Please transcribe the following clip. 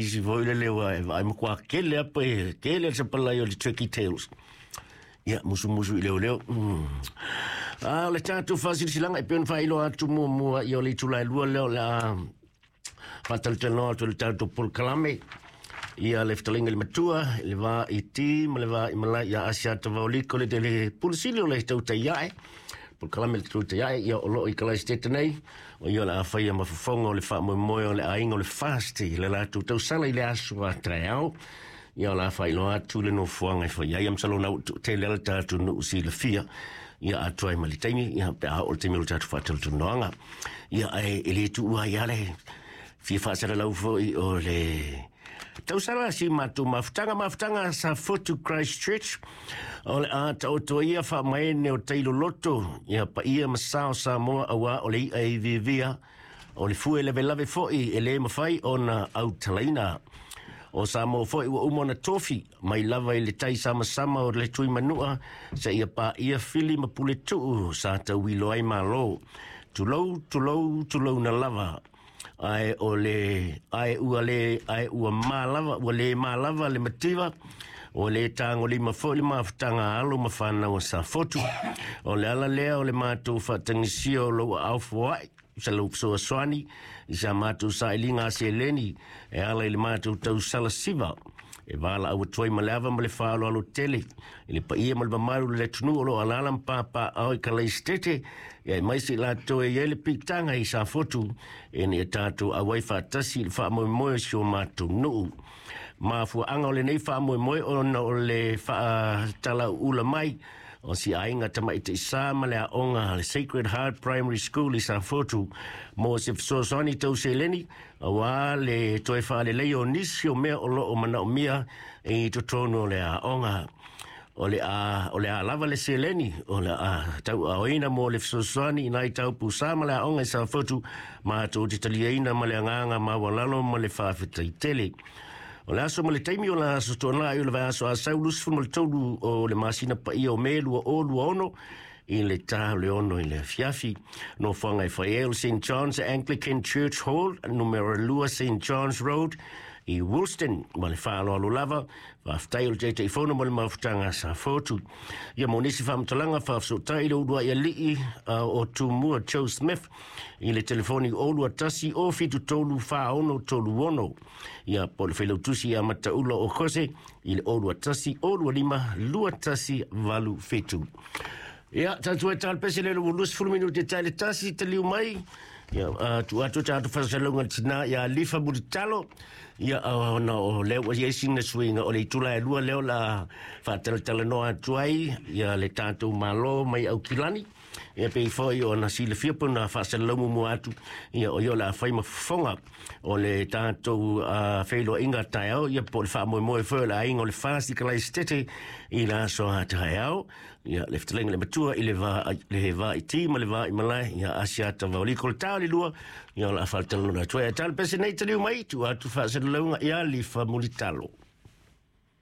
Isi foi le leo e vaai matua tele a pe tele le sapalai o le turkey tails. Ia, musumusu i leoleo. A o le tatou faasilasilaga e pei ona faailoa atu muamua, ia o le itula e 2 lea o le a faatalatalanoa atu i le tatou polokalame. Ia le fetalaiga i le matua, i le va i ti ma le va i malae ia Asiata Vaoliko le tele pulusili o le tautai ae. Polokalame le tautai ae, ia o loo i Kalaisitete nei, o ia o le a faia ma fofoga o le faamoemoe o le aiga o le FAST i le latou tausala i le aso a taeao. Ia o le a faailoa atu le nofoaga e fai ai, ia masalo na ua tele le tatou nuu silafia. Ia atu ai ma le taimi, ia pe a oo le taimi o le tatou faatalatalanoaga. Ia ae e le tuua ai lava le fia faasalalau foi o le tausala si matou mafutaga, mafutaga Safotu Christchurch, o le a taoto ia faamaene o tailoloto, ia paia ma sao Samoa auā o le i'a e iviivia, o le fue lavelave foi e le mafai ona autalaina. O Samoa foi ua uma ona tofi mai lava i le tai samasama o le Tuimanua seia paia Fili ma Puletuu sa tauilo ai Malo. Tulou, tulou, tulouna lava. Ae o le ae ua le ae ua malava ua le malava le mativa ua le tagolima foi le mafutaga a alo ma fanau a Safotu. O le ala lea o le matou faatagisia o lou aao foai sa lou fesoasoani i sa matou sailiga a seleni e ala i le matou tausala siva e valaau atu ai ma le ava ma le faaaloalo tele i le paia ma le mamalu o le atunuu o lo o alaala ma papaaao i Kalaisitete, ia aemaise i latou e i ai le piitaga i Safotu ina ia tatou auai faatasi i le faamoemoe o si o matou nuu. Mafuaaga o lenei faamoemoe ona o le faatalauula mai o si aiga tamaitaisa ma le aoga a le Sacred Heart Primary School i Safotu mo se fesoasoani tau seleni auā le toe faaleleia o nisi o mea o lo o manaomia i totonu o le aoga. O le a, o le a lava le seleni o le a tauaaoina mo le fesoasoani i nai tau pūsā ma le aoga i Safotu, matou te taliaina ma le agaga maualalo ma le faafetai tele. O le aso ma le taimi o le aso Toonai o le vaiaso Asau 23 o le masina paia o Me 2026 i le ta o le 6 i le afiafi. Nofoaga e fai ai o le St. John's Anglican Church Hall, numera 2 St. John's Road i Woolston, ma le faaaloalo lava. Faafetai o le Taitaifono mo le mafutaga a Safotu. Ia mo nisi faamatalaga faafesootai i le uluai alii o Tumua Joe Smith i le telefoni 021 073 4636. Ia po o le failautusi ia Mataula o Kose i le 021 025 2187. Ia, tatou e talapese le ua 20 minute tai le tasi taliu mai. Ia, atu atu tatou fasalauga le tina ia Lifa Mulitalo. Ia, ona o lea ua i ai sina suiga o le itula e 2 lea o le a faatalatalanoa atu ai ia le tatou Malo mai Aukilani. Ia pei foi ona silafia pe ona faasalalau muamua atu, ia o ia o le a fai ma fofoga o le tatou feiloaiga taeao, ia po o le faamoemoe foi o le aiga o le FAST i Kalaisitete i le aso a taeao. Ia le fetalaiga i le matua i le va le va i ti ma le va i malae ia Asiata Vaoliko le ta o le 2, ia o le a faatalatalanoa atu ai. Ae tala pese nei taliu mai, tuu atu faasalalauga ia Lifa Mulitalo.